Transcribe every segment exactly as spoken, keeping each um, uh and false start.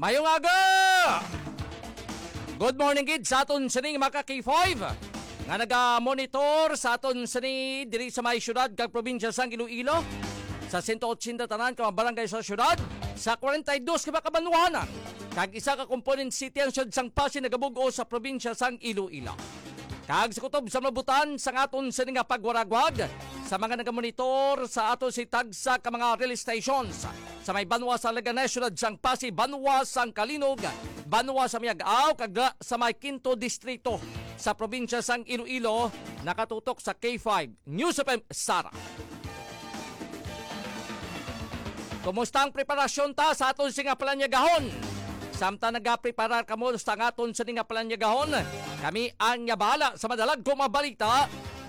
Mayong aga! Good morning gid sa aton sining mga ka K five nga naga-monitor sa aton sini diri sa may siyudad kag probinsya sang Iloilo, sa sento otsenta tanan ka mga barangay sa siyudad, sa kwarenta y dos ka mga kabanwahanan, kag isa ka component city ang siyudad sang Passi nagabug-os sa probinsya sang Iloilo. Kag sa kutob sa mabutan sang aton sini nga pagwaragwag sa mga nagamonitor sa ato si tagsa ka mga relay stations sa may banwa sa Leganes, siyudad sang Passi, banwa sang Calinog, banwa sa Miag-ao, kag sa may Quinto Distrito sa probinsya sang Iloilo, nakatutok sa K five News F M Sara. Kumusta ang preparasyon ta sa aton sini nga palanyagahon? Samtang nagapreparar kamo sa aton sini nga palanyagahon, kami ang nga bahala sa madalagko nga mga balita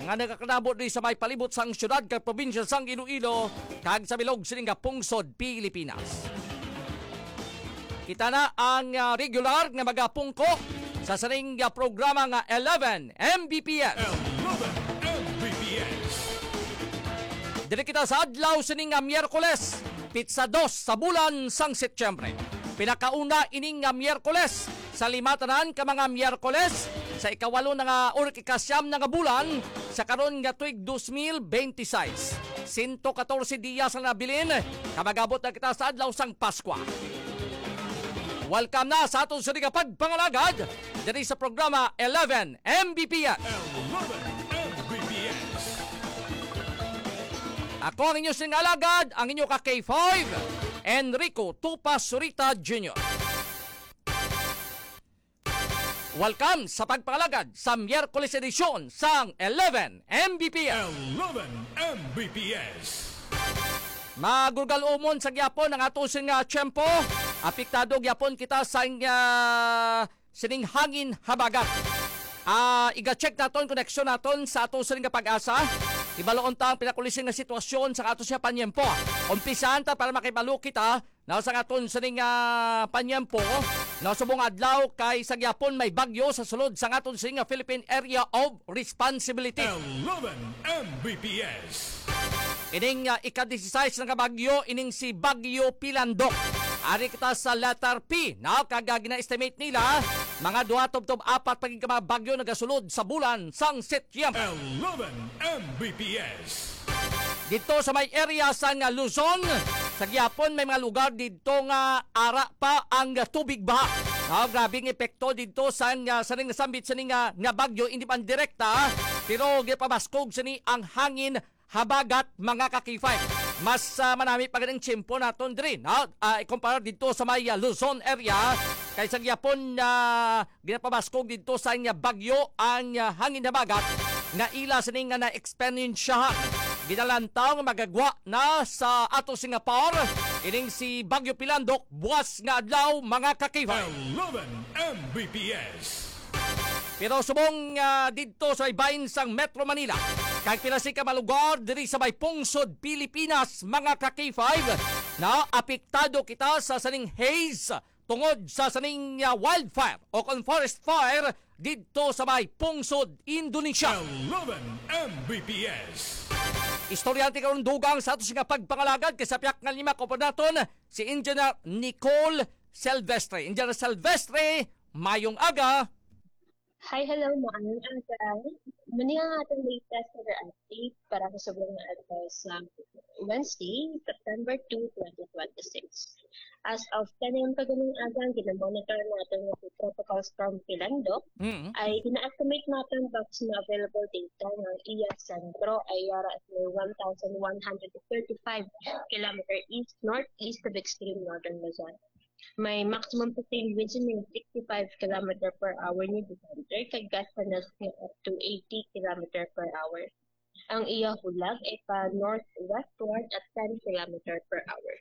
nga nagakanabo diri sa may palibot sang siyudad kag probinsya sang Iloilo kag sa bilog sini nga pungsod Pilipinas. Kita na ang, ah, regular nga magapungko sa sining, ah, programa nga eleven M B P S. Eleven M B P S. Diri kita sa adlaw sini nga Miyerkules, pitsa dos sa bulan sang Setyembre. Pinakauna ining nga Miyerkules sa lima tanan ka mga Miyerkules sa ikawalo na nga or ikasyam na nga bulan sa karon nga tuig dos mil benti seis. Sento katorse diyas ang nabilin, ka mag-abot na kita sa adlaw sang Paskwa. Welcome na sa aton sini nga pagpangalagad diri sa programa eleven M B P S. Eleven M B P S. Ako ang inyo sing alagad, ang inyo ka K five, Enrico Tupas Surita Junior. Welcome sa pagpangalagad sa Miyerkules edisyon sang eleven M B P S. Eleven M B P S. Magrugal umon sa gyapon ang ato sing, ah, tiyempo. Apektado gyapon kita sa, ah, sining hangin habagat. Ah, iga-check naton koneksyon naton sa ato sining nga pag-asa. Ibaloon ta ang pinakulisin nga sitwasyon sa ato siya panyempo. Umpisahan ta para makibalo kita na sa aton sining, ah, panyempo, na subong adlaw kay sa gyapon may bagyo sa sulod sa aton sining, ah, Philippine Area of Responsibility. Eleven M B P S. Ining, ah, ika-disisais na nga bagyo, ining si Bagyo Pilandok. Ari kita sa letter P, no? Kag, ah, gina-estimate nila, mga duha tubtob apat pa gid ka mga bagyo nagasulod sa bulan sang Setyembre. Eleven M B P S. Dito sa may area sa nga Luzon, sa gyapon may mga lugar dito nga ara pa ang tubig baha. Ah, grabe ang epekto dito sa nga, sa nga sambit sa nga, nga bagyo, hindi man direkta, pero gipabaskog sini ang hangin habagat, mga ka-K five. Mas, ah, manami pa ganing tiyempo naton diri, no? Ah, ikumpara dito sa may, ah, Luzon area, kay sa gyapon, ah, ginapabaskog dito sa nga bagyo ang, ah, hangin habagat nga ila sini nga na-eksperyensyahan. Ginalantaw nga magagwa na sa ato Singapore ining si Bagyo Pilandok buwas nga adlaw, mga ka-K five. Eleven M B P S. Pero subong, ah, didto sa may bahin sang Metro Manila, kag pila sini ka mga lugar diri sa may pungsod Pilipinas, mga ka-K five, na apektado kita sa sining haze tungod sa sining, ah, wildfire o kon forest fire didto sa may pungsod Indonesia. Eleven M B P S. Istoryante karon dugang sa ato sini nga pagpangalagad kay sa piyak nga lima ko naton si Engineer Nicole Silvestre. Engineer Silvestre, mayong aga. Hi, hello, maayong aga. Mao ni ang atong latest weather update para sa subong nga adlaw sa Wednesday, September two, twenty twenty-six. As of ten a m kaganing aga, ang ginamonitor naton nga si Tropical Storm Pilandok Mm. ay gina-estimate naton base sa mga available data nga ang iya sentro ay ara sa may one thousand one hundred thirty-five kilometer east-northeast of extreme northern Luzon. May maximum sustained winds nga sixty-five kilometer per hour ni the center, kag gust na nga up to eighty kilometer per hour. Ang iya hulag ay pa northwestward at ten kilometer per hour.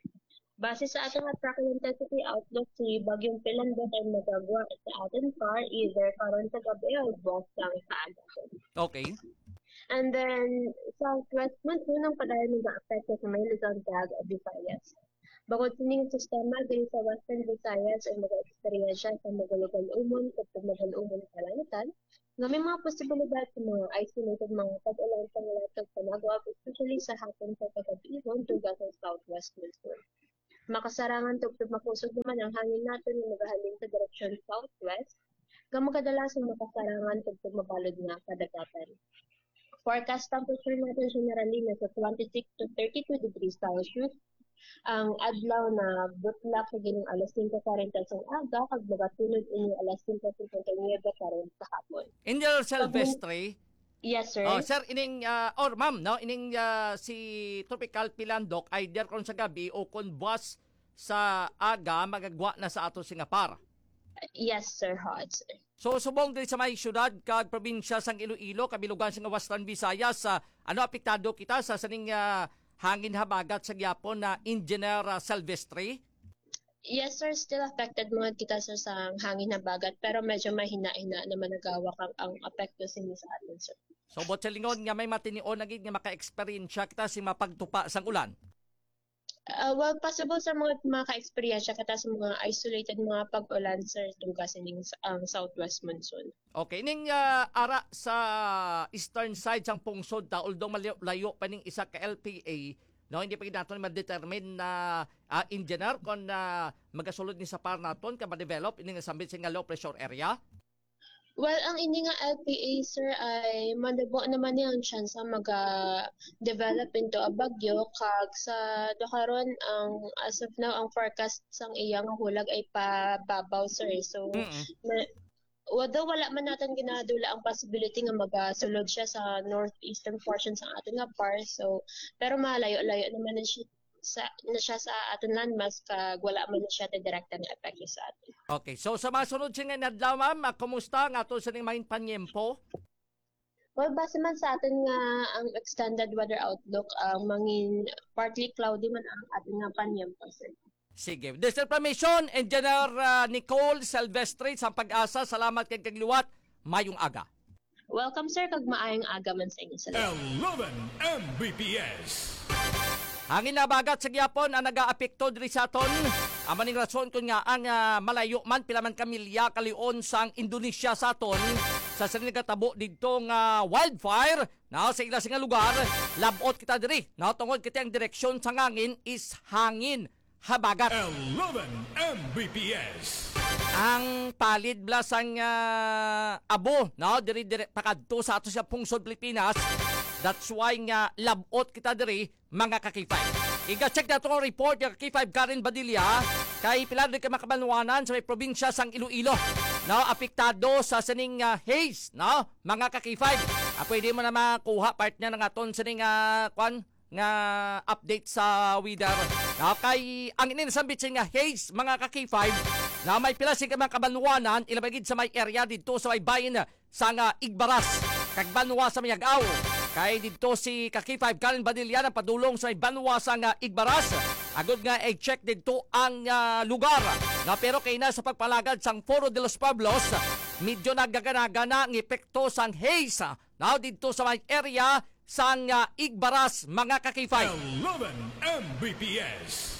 Base sa aton nga track and intensity outlook, si Bagyong Pilandok ay magagwa sa aton par either karon sa gabi o buwas sang sa aga. Okay. And then, southwest monsoon ang padayon nag-aapekto sa may Luzon kag Visayas. Bukod sini nga sistema, diri sa Western Visayas ang mag-eksperyensya sa magalog-alumon o pagmagalumon nga kalangitan, nga may mga posibilidad sa mga isolated mga pag-ulan sa mga tag panagwag, especially sa hapon sa kagabi, dugang sa southwest monsoon. Makasarangan tubtob makusog naman ang hangin naton nga magahalin sa direksyon southwest, nga magkadalasang makasarangan tubtob mabalod nga kadagatan. Forecast temperature natin generally nasa twenty-six to thirty-two degrees Celsius. Ang adlaw na butlak sa gining alas singko kwarenta sang aga kag magatulod ini alas singko singkwenta y nuebe karon sa hapon. Engineer Pag min- Silvestre, Yes, sir. Oh, sir, ining, ah, or ma'am, no, ining, ah, si Tropical Pilandok, either kon sa gabi o kon buwas sa aga, magagwa na sa ato sing APAR. Yes, sir. Hot, sir. So, subong diri sa may syudad kag probinsya sang Iloilo, kabilugan sa Western Visayas, ah, ano, apektado kita sa sining, ah, hangin habagat sa gyapon na Engineer, ah, Silvestre? Yes, sir. Still affected mga kita, sir, sa hangin habagat, pero medyo mahina-hina naman nagawak ang, ang apekto sini sa atin, sir. So, buot silingon nga may matinion na gid nga maka-eksperyensya kita sa mapagtupa sang ulan? Ah, well, possible sa mga maka-eksperyensya kita sa mga isolated mga pag-ulan, sir, duga sining s-, ang southwest monsoon. Okay, ning, ah, ara sa eastern side sang pungsod ta, although malayo, layo pa ning isa ka L P A, no, hindi pa gid naton ma-determine na, ah, engineer, kon, ah, magasulod ni sa APAR naton ka ma-develop ini nga sambit sini nga low pressure area. Well, ang ini nga L P A, sir, ay malabo naman niya ang tsansa maga-develop into a bagyo, kag sa do karon, ang, as of now, ang forecast sang iya nga hulag ay pababaw, sir. So, Mm-mm. ma-, although wala man natin ginadula ang possibility nga magasulod siya sa northeastern portion sa aton nga APAR, so, pero malayo-layo naman na siya sa, na siya sa aton landmass, kag wala man na siya direkta nga epekto sa aton. Okay. So, sa mga sunod sini nga adlaw, ma'am, ah, kumusta ang aton sining mga panyempo? Well, base man sa aton nga ang extended weather outlook, ang mangin partly cloudy man ang aton nga panyempo, sir. Sige. This information, Engineer, ah, Nicole Silvestre sa PAGASA. Salamat kag kag liwat. Mayong aga. Welcome, sir, kag maayong aga man sa inyo. Salamat. Eleven M B P S. Hangin habagat sa gyapon ang nagaapekto diri sa aton. Amo ning rason kon ngaa ang, ah, malayo man, pila man ka milya kalion sang Indonesia sa aton, sa sini nagatabo didto nga wildfire, no, sa ila sing lugar, lab-ot kita diri, no, tungod kay ang direksyon sang hangin is hangin habagat. Eleven M B P S. Ang palid bala sang, ah, abo, no, diri, diri pakadto sa ato sa pungsod Pilipinas. That's why nga lab-ot kita diri, mga ka-K five. Iga-check nato ang report ni ka-K five Karen Badilla, kay pila diri ka mga kabanwanan sa may probinsya sang Iloilo, no, apektado sa sining, ah, haze, no, mga ka-K five. Ah, pwede mo na makuha, partner, nga aton sining, ah, kwan, nga update sa weather. No, kay ang ini nasambit sining nga haze, mga ka-K five, na may pila sing mga kabanwanan, ilabi gid sa may area didto sa may bahin sang, ah, Igbaras kag banwa sa Miag-ao. Kay didto si ka-K five Karen Badilla nagpadulong sa may banwa sang, ah, Igbaras, agud nga i-check didto ang, ah, lugar. Na pero kay na sa pagpalagad sang Foro de los Pueblos, medyo nagaganaga na ang epekto sang haze, ah, now didto sa may area sang, ah, Igbaras, mga ka-K five. Eleven M B P S.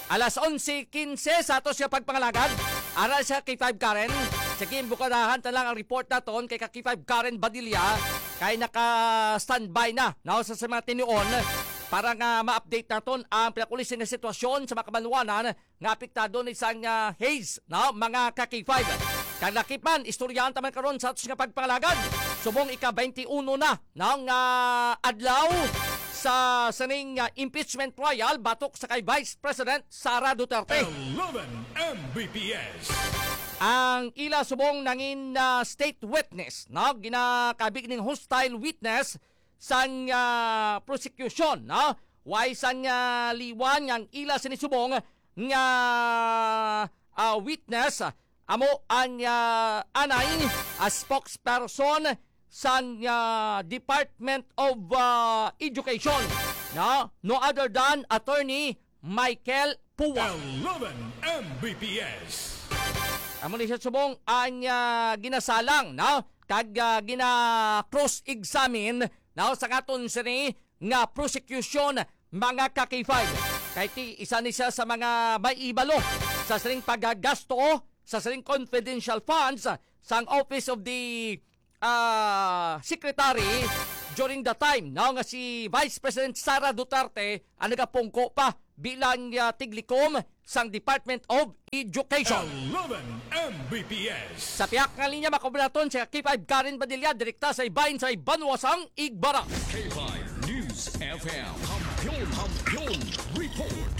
Alas onse quince sa ato siya pagpangalagad. Ara siya, K five Karen. Sige, bukadahan ta lang ang report naton kay ka-K five Karen Badilla, kay naka-standby na, no, sa, sa mga tinuon para nga ma-update naton ang pinakulisin nga sitwasyon sa mga kabanwanan nga apektado ni sang, ah, haze, no, mga ka-K five. Kag lakip man, istoryahan ta man karon sa atos nga pagpangalagad. Subong ika-twenty-one na, no, nga adlaw sa sining, ah, impeachment trial batok sa kay Vice President Sara Duterte. Eleven M B P S. Ang ila subong nangin, ah, state witness, no, ginakabig ning hostile witness sang, ah, prosecution, no? Way sang, ah, liwan nga ang ila sini subong nga, ah, witness, amo ang, ah, anay, ah, spokesperson sang, ah, Department of, ah, Education, no? No other than Attorney Michael Pua. Eleven M B P S. Amo ni siya subong ang, ah, ginasalang, no? Kag, ah, gina-cross-examine, no, sa aton sini nga prosecution, mga ka-K five. Kay ti, isa ni siya sa mga may ibalo sa sining paggagasto sa sining confidential funds sang Office of the, ah, Secretary during the time, no, nga si Vice President Sara Duterte ang nagapungko pa bilang, ah, tiglikom sang Department of Education. Eleven M B P S. Sa piyak nga linya, makuha naton si K five Karen Padilla, direkta sa ibahin sa Banwa sang Igbaras. K five News F M. Kampiyon, Kampiyon Report.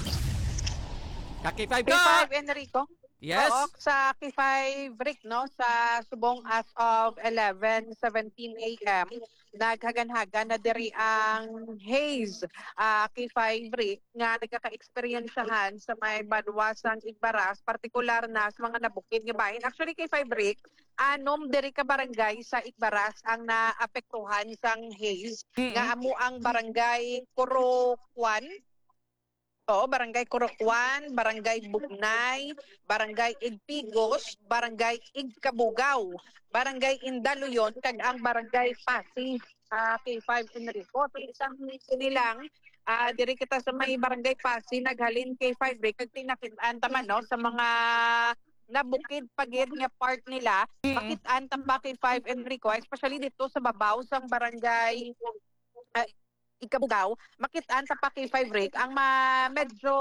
Ka K five K ka! five, Enrico. Yes. Oo, sa K five Rick, no, sa subong as of eleven seventeen a m, naghaganhagan na diri ang haze, ah, K five Rick, nga nagkaka-eksperyensyahan sa may banwa sang Igbaras, partikular na sa mga nabukid nga bahin. Actually, K five Rick, anom diri ka barangay sa Igbaras ang naapektuhan sang haze, Mm. nga amo ang barangay Corocuan, oo, Barangay Corocuan, Barangay Bugnay, Barangay Igpigos, Barangay Igkabugaw, Barangay Indaluyon, kag ang Barangay Pasi, ah, K five Enrico. So, isang sini lang, ah, diri kita sa may Barangay Pasi, naghalin K five Rick, kag tinakit-an ta man, no, sa mga nabukid pa gid nga part nila, Mm. makit-an ta pa K five Enrico, especially dito sa babaw sang Barangay, ah, Igkabugaw, makit-an ta pa K five Rick, ang ma-, medyo,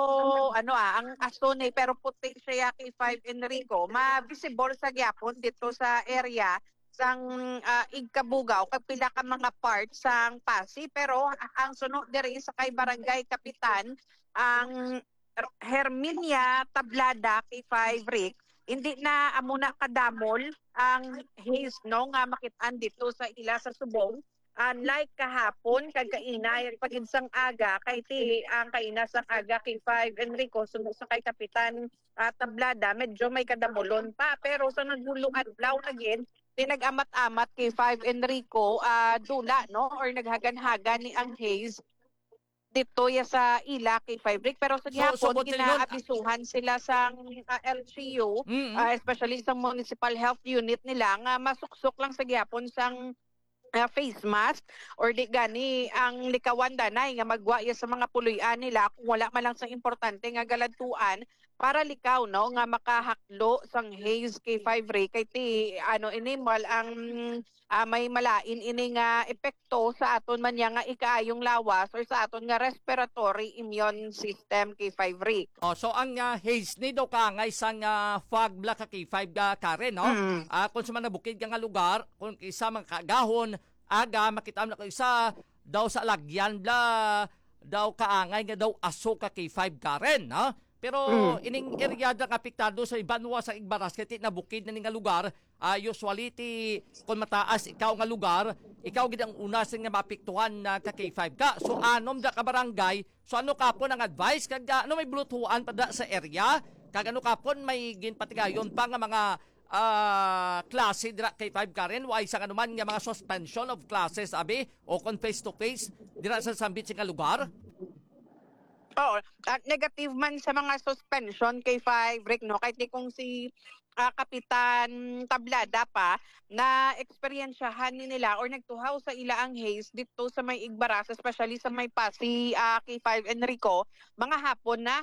ano, ah, ang aso ni, pero puti siya, K five Enrico, ma-visible sa gyapon dito sa area sang, ah, Igkabugaw, kag pila ka mga part sang Pasi, pero ang suno diri sa kay Barangay Kapitan, ang Herminia Tablada, K five Rick, hindi na amo na kadamol ang haze, no, nga makit-an dito sa ila sa subong. Unlike kahapon, kag kaina, pagid sang aga, kay ti ang kaina sang aga, K five Enrico, suno sa kay Kapitan, ah, Tablada, medyo may kadamolon pa. Pero sa naghulo adlaw na gid, ti nag-amat-amat, K five Enrico, ah, dula, no, or naghagan-hagan ni ang haze dito ya sa ila, K five Rick. Pero sa So, so, gihapon, Botelyon, ginaabisuhan sila sa, ah, L G U, Mm. ah, especially sa municipal health unit nila, nga masuksok lang sa gihapon sang, ah, face mask or di gani ang likawan danay nga magwa ya sa mga puloy-an nila kung wala man lang sa importante nga galadtuan para likaw, no, nga makahaklo sang haze, K five Rick, kay ti, ano, ini, mal-, ang, ah, may malain ini nga epekto sa aton man niya nga ikaayong lawas or sa aton nga respiratory immune system, K five Rick. Oh, so ang, ah, haze ni daw kaangay sang, ah, fog bala ka K five, ah, Karen, no? Mm. Ah, kung sa mga bukid ka nga lugar, kung isa mga kaagahon, aga, makita mo na kung isa daw sa alagyan bala, daw kaangay nga daw aso ka K five Karen, ha? Pero Mm. ining area nga apektado sa banwa sa Igbaras, kay ti nabukid na ni nga lugar, ah, usually ti kung mataas ikaw nga lugar, ikaw gid ang una sa nga maapektuhan na ka K five ka. So, anom da ka barangay. So, ano ka po ang advice? Kag, ah, ano may bulutuan pa da sa area? Kag ano ka po may ginpatigayon pa nga mga, ah, klase dira K five Karen? Wa isang anuman nga mga suspension of classes, abi? O kung face to face, dira sa sambit sa nga lugar? Oo, at negative man sa mga suspension, K five Rick, no? Kahit di kung si, ah, Kapitan Tablada pa, na eksperyensyahan ni nila or nagtuhaw sa ila ang haze dito sa may Igbaras, especially sa may Pasi, ah, K five Enrico, mga hapon na.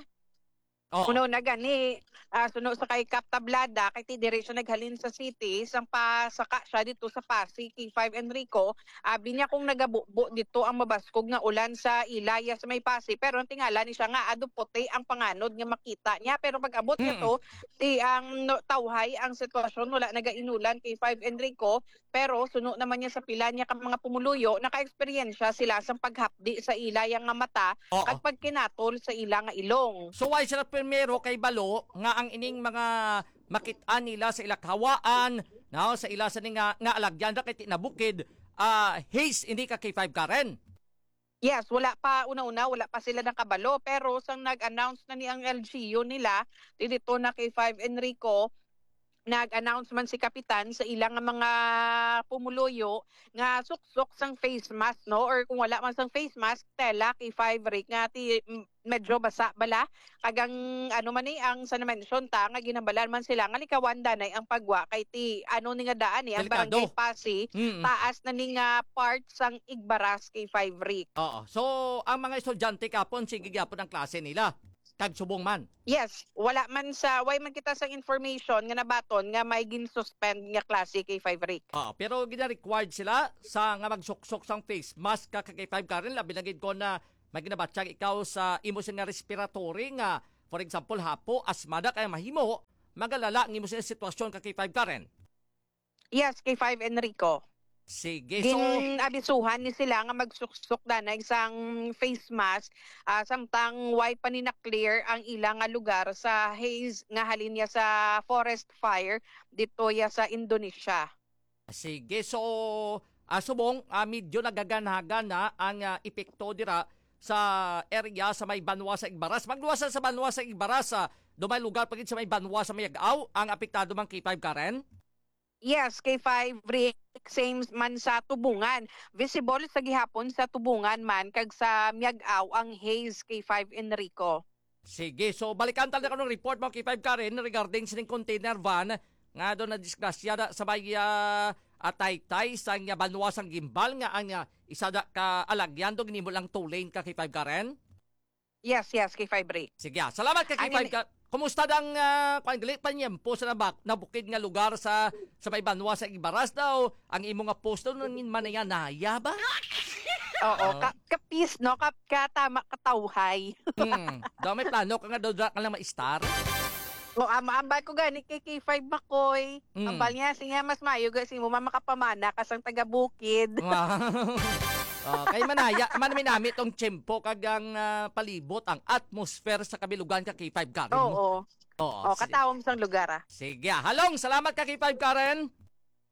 Oo. Kuno na gani, ah, suno sa kay Kap Tablada, kay ti diri siya naghalin sa city, sang pasaka siya dito sa Pasi, K five Enrico. Abi niya kung nagabubo dito ang mabaskog nga ulan sa ilaya sa may Pasi, pero ang tingala ni siya nga ado puti ang panganod nga makita niya. Pero pag abot niya Mm. to, ti ang no, tawhay ang sitwasyon, wala nagainulan, K five Enrico, pero suno naman niya sa pila niya ka mga pumuluyo, naka-eksperyensya sila sa paghapdi sa ila yang nga mata Oo. kag pagkinatol sa ila nga ilong. So, why sila primero kay balo nga ang ining mga makit-an nila sa ila kahawaan, no, sa ila sa ni nga, nga alagyan ra kay ti nabukid, ah, haze ini ka K five Karen? Yes, wala pa, una-una, wala pa sila nakabalo, pero sang nag-announce na ni ang L G U nila, ti dito na K five Enrico, nag-announce man si Kapitan sa ilang mga pumuluyo nga suksok sang face mask, no? Or kung wala man sang face mask, tela, K five Rick, nga ti, m-, medyo basa bala. Kag ang, ano man ni, ang sa na-mention ta, nga ginhambalan man sila nga likawan danay ang pagwa kay ti, ano ni nga daan ni, ang Delikado. Barangay Pasi, Mm. taas na ni nga part sang Igbaras, K five Rick. Oo. So, ang mga estudyante kapon, sige gyapon ang klase nila. Kag subong man. Yes, wala man sa, way man kita sang information nga nabaton nga may gin-suspend nga klase, K five Rick. Oo, pero gina-required sila sa nga magsuksok sang face mask ka K five Karen, labi na gid ko na may ginabatyag ikaw sa imo sini nga respiratory nga, for example, hapo, asma na, kay mahimo magalala ang imo sini nga sitwasyon ka K five Karen. Yes, K five Enrico. Sige, so Gin-abisuhan ni sila nga magsuksok danay sang face mask, ah, samtang way pa ni na-clear ang ila nga lugar sa haze nga halin niya sa forest fire dito ya sa Indonesia. Sige, so, ah, subong, ah, medyo nagaganhagan na ang, ah, epekto dira sa area sa may banwa sa Igbaras. Magluwas sa banwa sa Igbaras, ah, do may lugar pa gid sa may banwa sa Miag-ao ang apektado, man K five Karen? Yes, K five Rick, same man sa Tubungan. Visible sa gihapon sa Tubungan man kag sa Miag-ao ang haze, K five Enrico. Sige, so balikan ta na kanong report mo, K five Karen, regarding sining container van nga do nadisgrasya da sa may, ah, ah, taytay sa nga banwa sang Guimbal nga ang, ah, isa da ka alagyan do ginimo lang two lane ka, K five Karen? Yes, yes, K five Rick. Sige, ah, salamat ka, K five Ka-, kumusta dang, ah, kwan, gali pa niyempo sa nabak-, nabukid nga lugar sa, sa may banwa sa Igbaras daw? Ang imo nga post daw nangin manaya-naya ba? Oo, Oh. ka, kapis, no? Ka, katama, katawhay. Hmm. Daw may plano ka nga daw dra ka lang ma-star? O, ama, ambal ko gani kay K five Makoy. Mm. Ambal niya, siya mas maayo ga si mo, ma-, makapamana ka sang taga-bukid. Wow. Oh, kay manaya, man minami tong tiyempo kag ang, ah, palibot, ang atmosphere sa kabilugan ka K five Karen. Oo. Oo, Oh, si- katawom sang lugar, ah. Sige, ah. Halong, salamat ka K five Karen.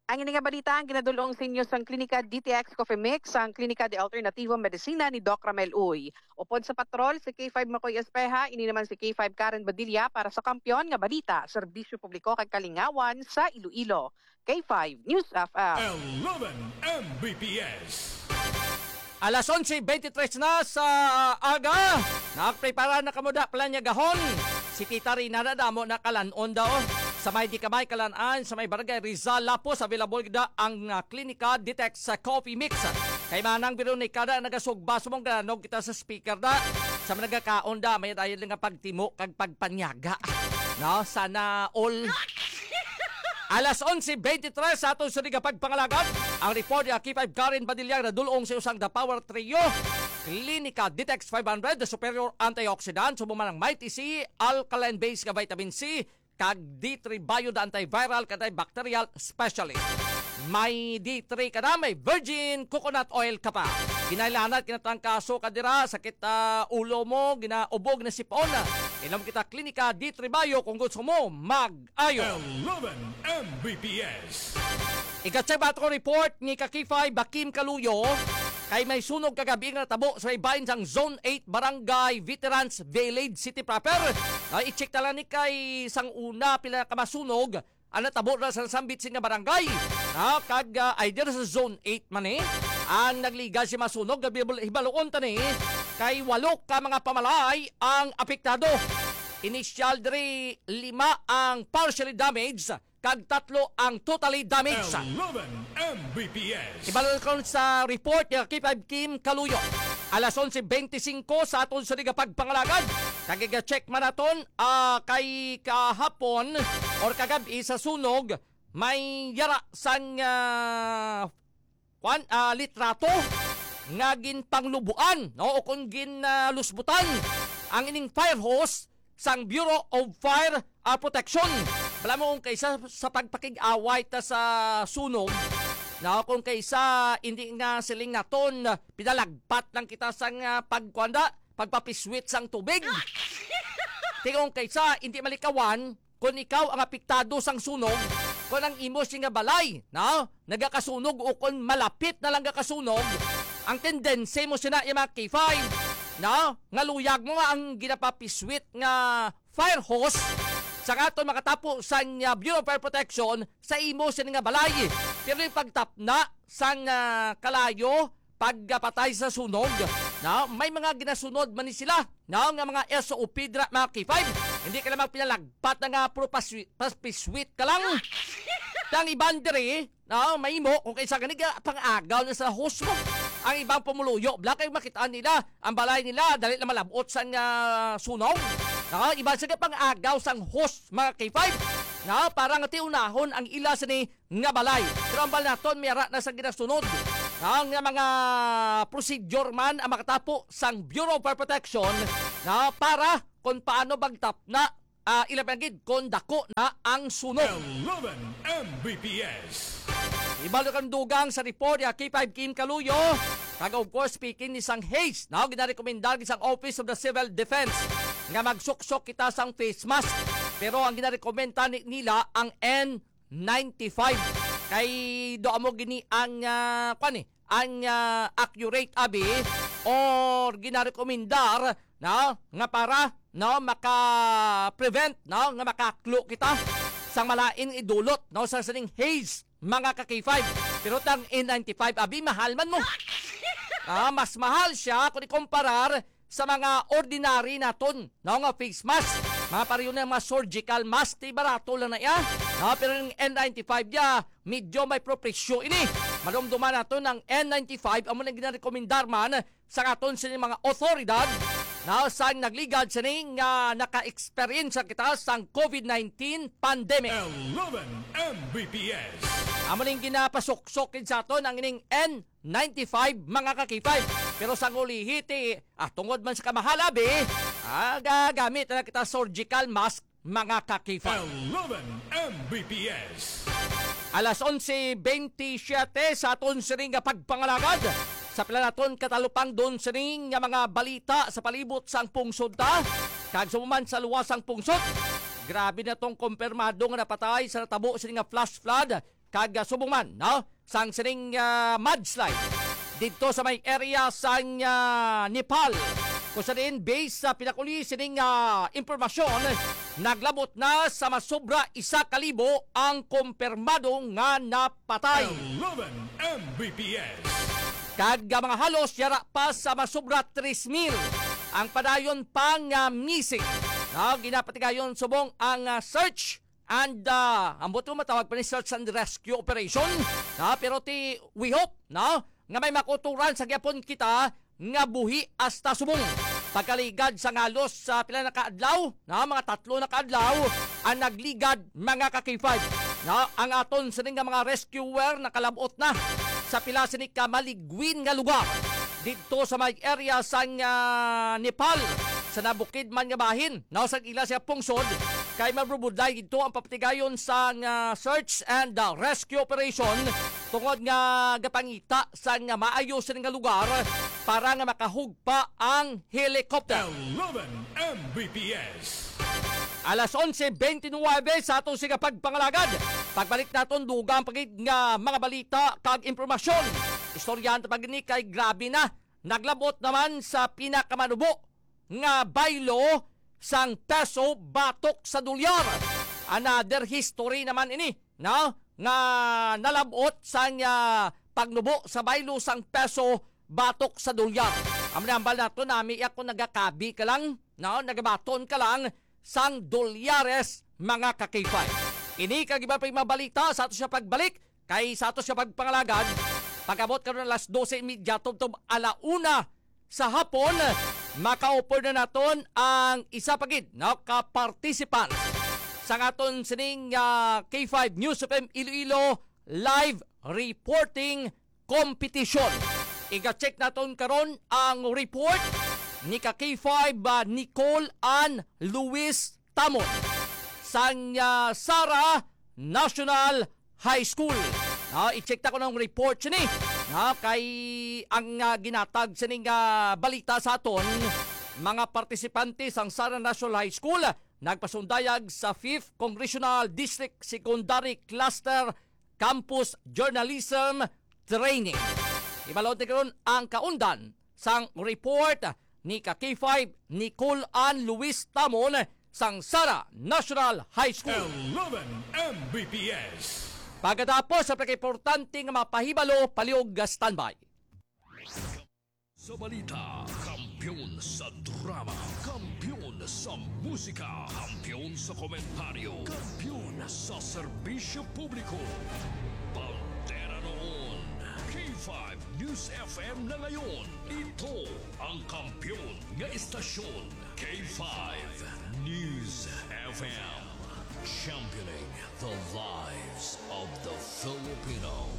Ang ini nga balita ang ginadul-ong sa inyo sang Klinika D T X Coffee Mix, sang Klinika de Alternativo Medicina ni Doc Ramel Uy. Upod sa patrol, si K five Makoy Espeha, ini naman si K five Karen Badilla para sa Kampiyon nga Balita, Serbisyo Publiko kag Kalingawan sa Iloilo. K five News F M. Eleven M B P S. Alas onse beintitrés na sa aga. Nagprepara na kamo da planyagahon. Si Tita Rina na damo na kalan-on daw. Sa may di kamay kalan-an, sa may barangay Rizal, Lapos, available da ang, ah, Klinika Detox sa Coffee Mix. Kay Manang Veronica da nagasugba sa mong galanog kita sa speaker da. Sa mga nagakaon da, may dayon nga pagtimo kag pagpanyaga. No? Sana all. Alas onse beintitrés sa aton sunig nga pagpangalagad. Ang report ni K five Karen Padilla nga nadul-ong sa usang The Power Trio. Klinika Detox five hundred, the superior antioxidant, subong man ang Mighty C, alkaline base nga vitamin C, kag D three Bio, the antiviral, antibacterial specialist. May D three ka na, may virgin coconut oil ka pa. Ginailanat, kinatrangkaso ka dira, sakit, ah, ulo mo, ginaubog na sipon. Inom kita Klinika D three Bio kung gusto mo mag-ayo. Eleven M B P S. Ikatsay bato ko report ni Kakifay Bakim Kaluyo, kay may sunog kagabi nga natabo sa may bahin sang Zone eight Barangay Veterans Village City Proper. Ay, i-check na lang ni kay sang una pila ka masunog ang natabo na sa sambit sini nga barangay. Ah, kag, ah, ay dira sa Zone eight man, eh. Ang nagliga si masunog, gabi bul-, hibaluon ta ni, kay walo ka mga pamalay ang apektado. Initial diri, lima ang partially damaged, kag tatlo ang totally damaged. Eleven M B P S. Ibalo kon sa report ni K five Kim Kaluyo. Alas onse beintisinko sa aton sunig nga pagpangalagad. Kag iga-check man naton, ah, kay kahapon or kagab-i sa sunog, may yara sang, ah, kwan, ah, litrato nga ginpanglubuan, no, o kon gin, ah, lusbutan ang ining fire hose sang Bureau of Fire, ah, Protection. Bala mo kung kaysa sa pagpakig-away ta sa sunog, no, kung kaysa hindi nga siling naton, pinalagpat lang kita sang, ah, pagkuan da, pagpapiswit sang tubig. Tingong kaysa hindi malikawan, kung ikaw ang apektado sang sunog, kung ang imo sini nga balay, no, nagakasunog o kung malapit na lang gakasunog, ang tendency mo sina, yung mga K five, no, nga luyag mo nga ang ginapapiswit nga fire hose sa aton makatapo sa, ah, Bureau of Fire Protection sa imo sini nga balay. Pero yung pagtapna sang, ah, kalayo, pagkapatay sa sunog, no? May mga ginasunod man ni sila, no? Nga mga S O P dira, mga K five. Hindi ka lang magpinalagpat na nga puro paswi-, pas-, paspiswit ka lang. Ang iban diri, no? Mahimo, kung kaysa gani, ga-, pang-agaw na sa hose mo. Ang ibang pumuluyo, bala kay makita nila, ang balay nila, dali na malabot sang, ah, sunog. No? Iban sila pang-agaw sang hose, mga K five. No? Para nga tiunahon ang ila sini nga balay. Pero ang balay naton, may ara na sa ginasunod. Ang mga procedure man ang makatapo sang Bureau of Fire Protection na para kung paano magtapna, ah, ilabi na gid kung dako na ang sunog. Eleven M B P S. Ibalo kang dugang sa report ni K five Kim Kaluyo. Kag of course, speaking ni sang haze, no, ginarekomendar gid sang Office of the Civil Defense nga magsuksok kita sang face mask. Pero ang ginarekomenda ni, nila ang N ninety-five. Kay do amo gini ang, ah, kwan eh, ang, ah, accurate abi or ginarekomendar, no, nga para, no, maka-prevent, no, nga makaklo kita sang malain idulot, no, sa sining haze, mga ka-K five. Pero tang N ninety-five abi, mahal man mo. Ah, mas mahal siya kung ikumparar sa mga ordinary naton, no, nga face mask. Mga pareho na mga surgical mask, ti barato lang na iya. No, pero yung N ninety-five niya, medyo may propresyo ini. Malumduman naton ang N ninety-five, amo nang ginarekomendar man sa aton sini mga otoridad, no, sang nagligad sini nga naka-experience kita sang COVID nineteen pandemic. Eleven M B P S. Amo ning ginapasuksok gid sa aton ang ining N ninety-five, mga ka-K five. Pero sang ulihi ti, ah, tungod man sa kamahal abi, ah, gagamit na kita surgical mask, mga ka-K five. Eleven M B P S. Alas onse bentisiete sa aton sining nga pagpangalagad. Sa pila naton katalupangdon sining nga mga balita sa palibot sang pungsod ta, kag sa man sa luwas sang pungsod. Grabe na tong kumpirmado nga napatay sa natabo sining nga flash flood kag, ah, subong man, no, sang sining, ah, mudslide didto sa may area sang, ah, Nepal. Kung sa diin, based sa pinakuli sining, ah, impormasyon, naglabot na sa masobra isa ka libo ang kumpirmado nga napatay. Eleven M B P S. Kag, ah, mga halos yara pa sa masobra tres mil ang padayon pang, ah, missing. No, ginapatigayon subong ang, ah, search and, ah, ambot mo matawag pa ni search and rescue operation, no? Pero ti, we hope, no, nga may makuturan sa gyapon kita nga buhi hasta subong. Pagkaligad sa ngalos sa pila na ka adlaw, no, mga tatlo na ka adlaw ang nagligad, mga ka-K five. No, ang aton sini nga mga rescuer nakalabot na sa pila sini ka maligwin nga lugar didto sa may area sang, ah, Nepal, sa nabukid man nga bahin, no, sa ila siya pungsod, kay mabrubudlay didto ang papatigayon sang, ah, search and, ah, rescue operation, tungod nga gapangita sang maayo sini nga lugar para nga makahugpa ang helicopter. Eleven M B P S. Alas onse bentisiete sa aton sining pagpangalagad. Pagbalik naton, dugang pa gid nga mga balita kag impormasyon. Istoryahan ta pa gid ni kay grabe na. Naglabot naman sa pinakamanubo nga baylo sang peso batok sa dolyar. Another history naman ini, no? Nga nalabot sang, ah, pagnubo sa baylo sang peso batok sa dolyar. Amo ni hambal nato, nami ako nagakabi ka lang, no? Nagabaton ka lang sang dolyares, mga ka-K five. Ini kag iban pa nga mga balita sa ato siya pagbalik, kay sa ato siya pagpangalagad, pag-abot karon alas dose y media tubtob ala una sa hapon, maka-offer na naton ang isa pa gid, no, ka participant sa aton sining, ah, K five News F M Iloilo live reporting competition. Iga-check naton karon ang report ni ka K five, ah, Nicole Ann Luis Tamon sang, ah, Sara National High School. Ah, i-check ta ko ng report sini. Ah, kay ang, ah, ginatag sining, ah, balita sa aton, mga partisipante sang Sara National High School nagpasundayag sa fifth Congressional District Secondary Cluster Campus Journalism Training. Ibalod ni karon ang kaundan sang report ni ka K five Nicole Ann Luis Tamon sang Sara National High School. Eleven M B P S. Pagkatapos sa pagkaimportante nga mga pahibalo, palihog nga standby. Sa balita, kampiyon sa drama, kampiyon sa musika, kampiyon sa komentaryo, kampiyon sa serbisyo publiko. Bandera noon, K five News F M na ngayon. Ito ang kampiyon nga istasyon, K five News F M. Championing the lives of the Filipino.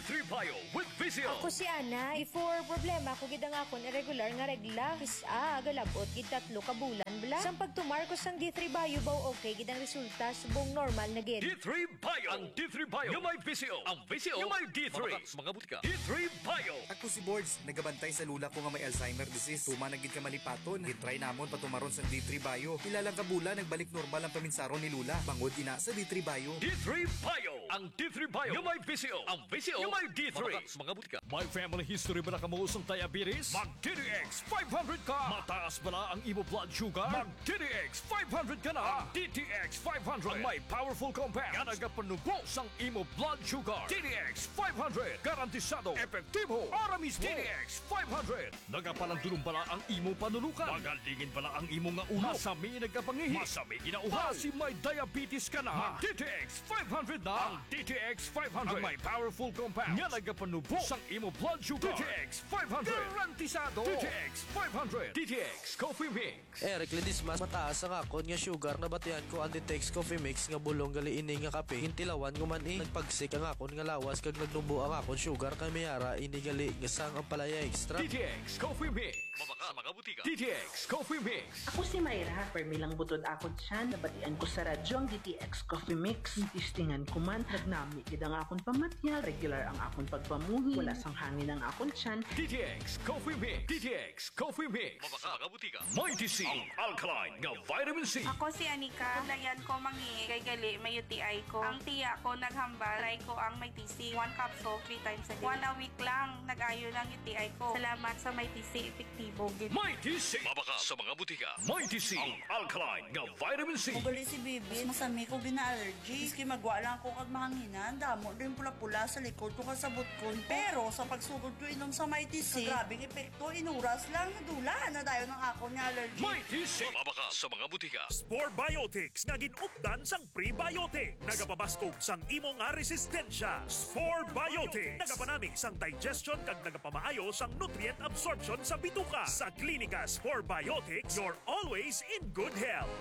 Three Bio with Visio. Ako si Ana. Before, problema ko gid ang akon irregular nga regla. Kis-a, galabot gid tatlo ka bulan bala. Sang pagtumar ko sang D three Bio, baw okay gid ang resulta, subong normal na gid. D three Bio. Ang D three Bio nga may Visio. Ang Visio nga may D three. Mabaka sa mga butika. D three Bio. Ako si Bords, nagabantay sa lula ko nga may Alzheimer disease. Tuman na gid ka malipaton. Gitry namon patumaron sang D three Bio. Pila lang ka bulan, nagbalik normal ang paminsaron ni Lula. Bangod ina sa D three Bio. D three Bio. Ang D three Bio nga may Visio. Ang Visio nga may D three. Mabaka sa mga butika. May family history bala kamo sang diabetes? Mag D T X five hundred ka. Mataas bala ang imo blood sugar? Mag D T X five hundred ka na. Ang D T X five hundred ang may powerful compound nga nagapanubo sang imo blood sugar. D T X five hundred, garantisado, epektibo, para mismo. D T X five hundred. Nagapalandulong bala ang imo panunukan? Magalingin bala ang imo nga ulo? Masami nagkapangihi? Masami ginauhaw? Basi may diabetes ka na? Mag D T X five hundred na. Ang D T X five hundred ang may powerful compound nga nagapanubo sang imo blood sugar. D T X five hundred. Garantisado. D T X five hundred. D T X Coffee Mix. Eric Ledesma, mataas ang akon nga sugar. Nabatian ko ang D T X Coffee Mix nga bulong gali ini nga kape. Gintilawan ko man, eh. Nagpagsik ang akon nga lawas kag nagnubo ang akon sugar, kay may ara ini gali nga sang ampalaya extra. D T X Coffee Mix. Mabaka sa mga butika. D T X Coffee Mix. Ako si Myra, permi lang butod akon tiyan. Nabatian ko sa radyo ang D T X Coffee Mix. Gitistingan ko man, nagnami gid ang akon pamatyag, regular ang akon pagpamuhi, wala sang hangin ang akon tiyan. D T X Coffee Mix. D T X Coffee Mix. Mabaka sa mga butika. Mighty C, ang alkaline nga vitamin C. Ako si Anika. Layan ko mangi kay gali may U T I ko. Ang tiya ko naghambal, try ko ang Mighty C. One capsule, three times a day. One a week lang, nag-ayo lang U T I ko. Salamat sa Mighty C, epektibo gid. Mighty C. Mabaka sa mga butika. Mighty C, ang alkaline nga vitamin C. Ugali si Bibi, masami ko gina-allergy. Maski magwa lang ako kag mahanginan, damo din pula-pula sa likod ko kag sa butkon ko. Pero sa pagsugod ko inom sa Mighty C, grabing epekto, inuras lang, nadula na dayon ang akon nga allergy. Mighty C. Mabaka sa mga butika. Spore Biotics nga gin-updan sang prebiotic. Nagapabaskog sang imo nga resistensya. Spore Biotics. Nagapanami sang digestion kag nagapamaayo sang nutrient absorption sa bituka. Sa Klinika Spore Biotics, you're always in good health.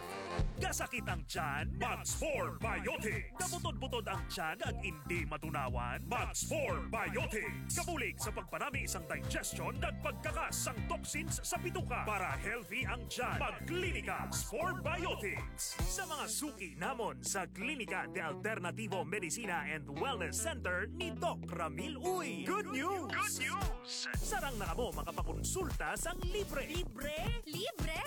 Kasakit ang tiyan? Mag Spore Biotics. Kabutod-butod ang tiyan kag indi matunawan? Mag Spore Biotics. Kabulig sa pagpanami sang digestion kag pagkakas sang toxins sa bituka para healthy ang tiyan. Mag Klinika Spore Biotics. Sa mga suki namon sa Klinika de Alternativo Medicina and Wellness Center ni Doc Ramil Uy. Good news! Good news! Sarang na kamo makapakonsulta sang libre. Libre? Libre!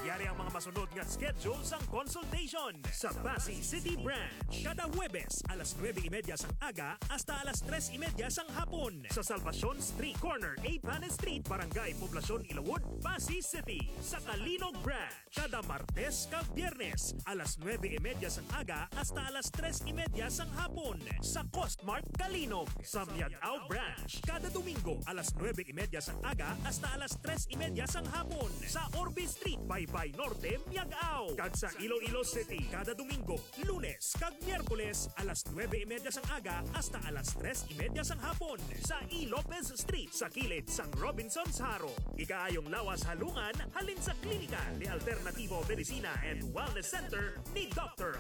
Yari ang mga masunod nga schedule sang consultation. Sa Passi City Branch, kada Huwebes alas nuebe y media sang aga hasta alas tres y media sang hapon. Sa Salvacion Street, corner Eighth Planet Street, Barangay Poblacion, Ilawod, Passi City. Sa Calinog Branch, kada Martes kag Biyernes, alas nuebe y media sang aga hasta alas tres y media sang hapon, sa Costmart Calinog. Sa Miag-ao Branch, kada Domingo, alas nuebe y media sang aga hasta alas tres y media sang hapon, sa Orbe Street, Baybay Norte, Miag-ao. Kag sa Iloilo City, kada Domingo, Lunes kag Miyerkules, alas nuebe y media sang aga hasta alas tres y media sang hapon, sa E. Lopez Street, sa kilid sang Robinsons Jaro. Ikaayong lawas halungan halin sa Klinika de Alternativo Medicina and Wellness Center ni Doctor